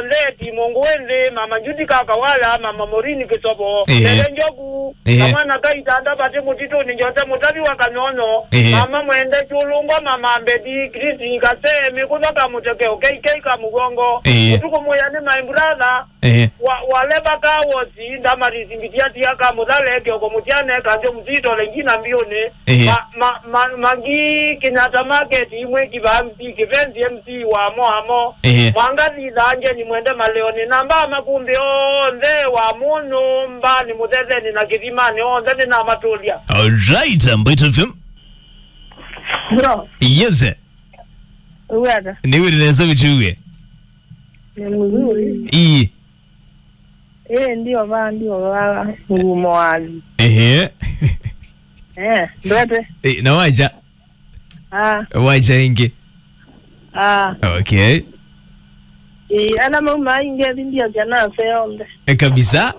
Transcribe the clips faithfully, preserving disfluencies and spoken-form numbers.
Ndeti, Mũngũĩ Nthĩ, Mama Judy Kakawala, Mama Morini Kĩsovo, Ehe. Ndete Njoku, Ehe. Kamwana ka Itanda Vati Mũtitũnĩ, Njose Mũtavi wa Kanyonyo, Ehe. Mama Mwende Kyũlũngwa, Mama Mbedi, Christine Kasee, Mĩkũtha Kamũtekeo, K K Kamũgongo, Ehe. Ũtukũ Mũya nĩ my brother, Ehe. Wa, Waleva Kawosi, Ndamaris Mbitiatia Kamũthale, Kioko Mũtiane, Kanjo Mũsito, Lengina Mbiũnĩ, Ehe. Ma, ma, ma, Mangi Kenyatta Market, Imwe Kivambi, Kĩvenzi M C wa Moamo. Ehe. Mwanga Thitha Njeni Mwende Maleoni, na mbaa makumbĩ onthe wa mũnyũmbanĩ, Mũthetheni na Kĩthimanĩ, onthe nĩnamatũlya. All right, Mbaitũ F M. Bro. Yes, sir. Uwe ata? Nĩ wĩrĩ nesa mĩtuwe. Nĩ mzuri. Ii. Eh, ndio vaa, ndio vaa, ngumo wathi. Ehe. Eh, ndwete. Eh, na waja? Ah. Waja ingi? Ah. Okay. Eh, ala mauma ingi, ndio jana se ombe. E kabisa?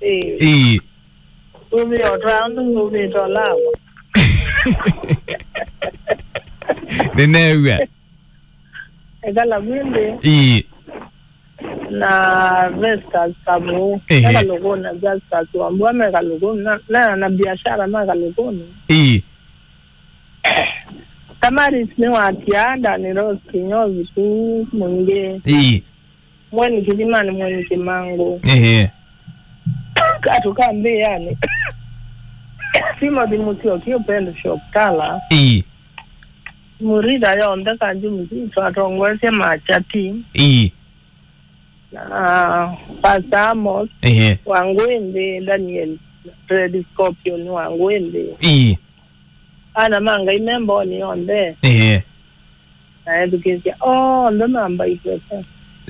Eh. Eh. Umi otra, umi otra lawa. Ninawa. Ekala mwende. Ii. Na Vestas Kamu. Ehe. Ekala lugona Justus Wambua meka lugona. Na, na, na biashara meka lugona. Ii. Tamaris nĩ wa Tianda, nĩ Rose Kinyozi tu mwingĩ. Ii. Mweni Kĩthimanĩ, Mweni Kĩmangũ. Ehe. Katu ka mbĩanĩ. Timothy Mũsyoki, Upendo Shop Tala. Ii. Murida yonthe Kanju Mzito atongoesye machati. Ii. Na Pastor Amos. Ehe. Wangwende Daniel. Red Scorpion Wangwende. Ii. Ana ma Ngai me mboni yonthe. Ehe. Na ethukĩĩsya onthe ma Mbaitũ F M.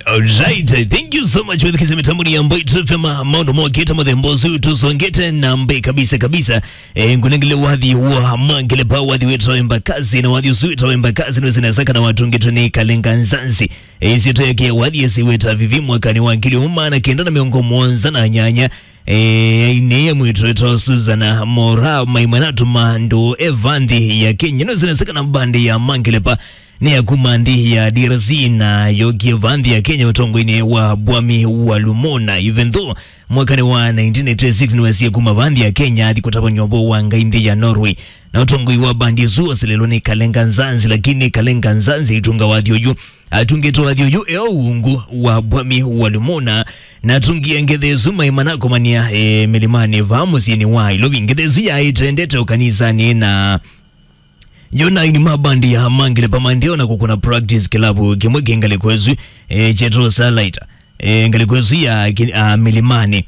All right, thank you so much. Wethukĩĩsya mĩtamboni ya Mbaitũ F M, maũndũ mokĩte mũthemba ũsu tũsongete na mbee kabisa kabisa. Eh, ngunengele wathi wa Mangelepa, wathi wĩtawa Embakasi, na wathi ũsu wĩtawa Embakasi nĩwĩsĩ nesa kana watungĩtwe nĩ Kalenga Nzanzi. Eh, ĩsyĩtwa yake ya wathi ĩsĩ wĩta Vivi mwakanĩ wa ngili ũmwe maana kenda na mĩongo mũonza na nyanya. Eh, ainĩie mwĩĩtu wĩtawa Susan Mora, maimwe natuma ndũũ e vaa nthĩ ya Kenya. Nĩwĩsĩ nesa kana mbandi ya Mangelepa nĩ ya kuma nthĩ ya D R C na yokie vaa nthĩ ya Kenya ũtongoinĩ wa Bwami wa Lumona. Even though mwakanĩ wa nineteen eighty-six nĩwesie kuma vaa nthĩ ya Kenya athi kũtavany'a ũvoo wa Ngai nthĩ ya Norway. Na ũtongoi wa mbandi ĩsu wasilĩlwe nĩ Kalenga Nzanzi, lakini Kalenga Nzanzi aitunga wathi ũyũ. Atungĩte wathi ũyũ e o ungu wa Bwami wa Lumona, na atungie ngethe ĩsu maima na kũmany'a, e, mĩlĩmanĩ vaa mũsyĩnĩ wa Nairobi. Ngethe ĩsu yaĩ ĩtendete o kanisanĩ na yona aini ma mbandi ya Mangelepa maendee o na kũkũna practice kĩlavu kĩmwe kĩ ngalĩko ĩsu, e, kyetwa Starlight, e, ngalĩko ĩsu ya ki-, a, mĩlĩmanĩ.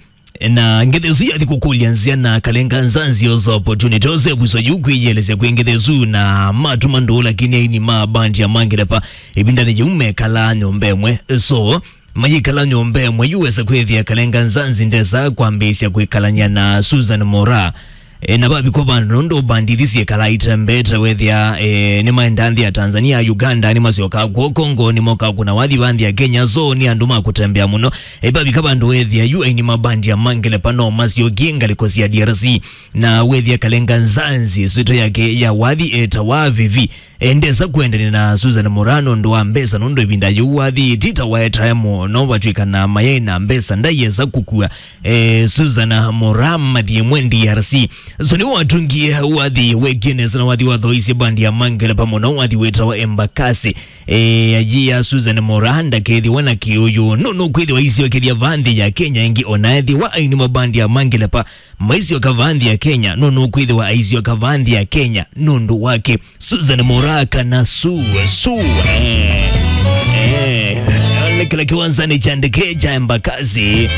Na ngethe ĩsu yathi kũkũlya nzĩa na Kalenga Nzanzi osa opportunity ose vuso yu kwĩyĩelesya kwĩ ngethe ĩsu na matuma ndũũ, lakini aini ma mbandi ya Mangelepa ĩvindanĩ yĩu mekalaa nyũmba ĩmwe. So, mayĩkala nyũmba ĩmwe yu wesa kwĩthĩa Kalenga Nzanzi ndesa kwambĩĩsya kwĩkalany'a na Susan Mora. E, na vavikwa vandũ nũndũ mbandi ithi syĩkalaa itembeete wethĩa, e, nĩmaendaa nthĩ ya Tanzania, Uganda, nĩmasyokaa kw'o Congo, nĩmokaa kũna wathi vaa nthĩ ya Kenya, so nĩ andũ ma kũtembea mũno. E, vavika vandũ wethĩa yu aini ma mbandi ya Mangelepa no masyokie ngalĩko sya D R C, na wethĩa Kalenga Nzanzi, ĩsyĩtwa yake ya wathi etawa Vivi. E, ndesa kũendanĩa na Susan Mora nũndũ wa mbesa, nũndũ ĩvinda yĩu wathi ti ta waetae mũno, vatw'ĩkana mayaĩ na mbesa, ndaiesa kũkua, e, Susan Mora mathi ĩmwe D R C. So nĩwatungie wathi wekie nesa na wathi wathoisye mbandi ya Mangelepa mũno, wathi wĩtawa Embakasi. E, ayia Susan Mora ndakethĩwa na kĩũyũ, no nũkwĩthĩwa aisyokethya vaa nthĩ ya Kenya ĩngĩ, ona ethĩwa aini ma mbandi ya Mangelepa maisyoka vaa nthĩ ya Kenya, no nũkwĩthĩwa aisyoka vaa nthĩ ya Kenya nũndũ wake. Susan Mora kana Su, Su, eh, eh, nĩ kĩla kĩwanzanĩ kya ndeke kya Embakasi.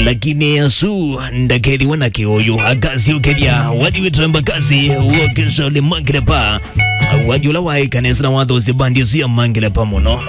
Lakini Su ndakethĩwa na kĩũyũ, akasyokethya wathi wĩtawa Embakasi, wokesha ũlĩ Mangelepa. Wathi ũla waĩ kanesa na wathoosya mbandi ĩsu ya Mangelepa mũno.